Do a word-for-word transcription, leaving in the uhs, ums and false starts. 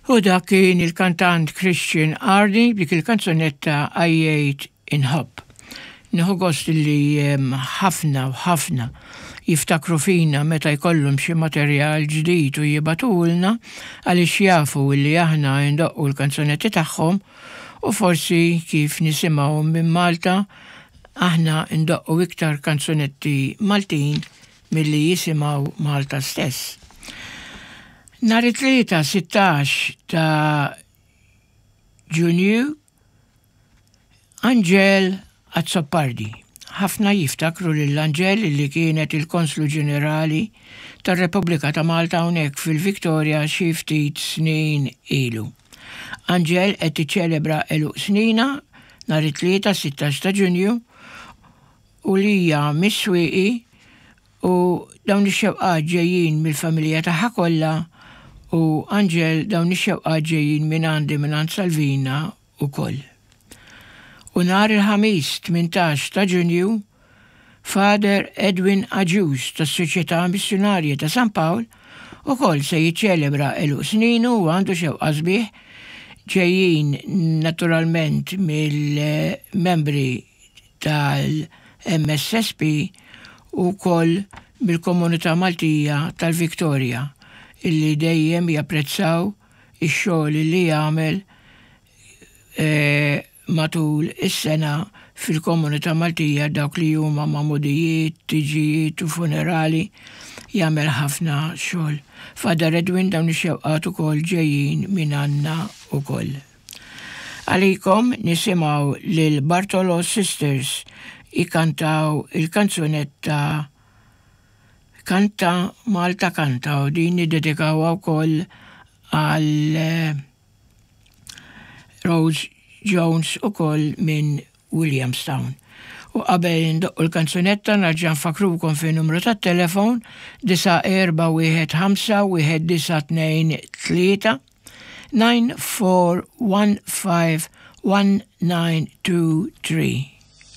U dak kien il-kantant Christian Ardi b'dik il-kanzunetta Għajjejt Inħobb. Nieħu gost li ħafna u ħafna jiftakru fina meta jkollhom xi materjal ġdid u jibagħtulna, għaliex jafu li aħna ndoqqu l-kanzunetti tagħhom, u forsi kif nisimgħu minn Malta, aħna ndoqqu iktar kanzunetti Maltin milli jisimgħu Malta stess. Nhar it-Tlieta sittax ta' Ġunju, Angel Azzopardi. Ħafna jiftakru lil Angel, li kienet il-Konslu Ġenerali tar-Repubblika ta' Malta hawnhekk fil-Victoria xi ftit snin ilu. Angel qed tiċċelebra għeluq sninha nhar it-Tlieta sittax ta' Ġunju u li hija mis-Swieqi, u dawn ix-xewqat ġejjin mill-familja tagħha kollha. U Angel, dawn ix-xewqat ġejjin minn għandi, minn għand Salvina ukoll. U nhar il-Ħamis tmintax ta' Ġunju, Father Edwin Agius tas-Soċjetà Missjunarja ta' San Pawl ukoll se jiċċelebra għeluq sninu u għandu xewqa sbieħ ġejjin naturalment mill-membri tal-M S S P u wkoll mill-komunità Maltija tal-Victoria, illi dejjem japprezzaw ix-xogħol li jagħmel eh, matul is-sena fil-komunità Maltija, dawk li huma magħmudijiet, tiġijiet u funerali, jagħmel ħafna xogħol. Father Edwin, dawn ix-xewqat ukoll ġejjin minn għandna ukoll. Għalikom nisimgħu lil Bartolo Sisters ikantaw il-kanzunetta Kanta Malta Kanta, u din niddedikawha wkoll għal eh, Rose Jones ukoll minn Williamstown. U qabel ndoqqu l-kanzunetta, nerġa' nfakkrukom fi numru tat-telefon disa' erba' wieħed ħamsa wieħed disa' tnejn tlieta, nine four one five one nine two three.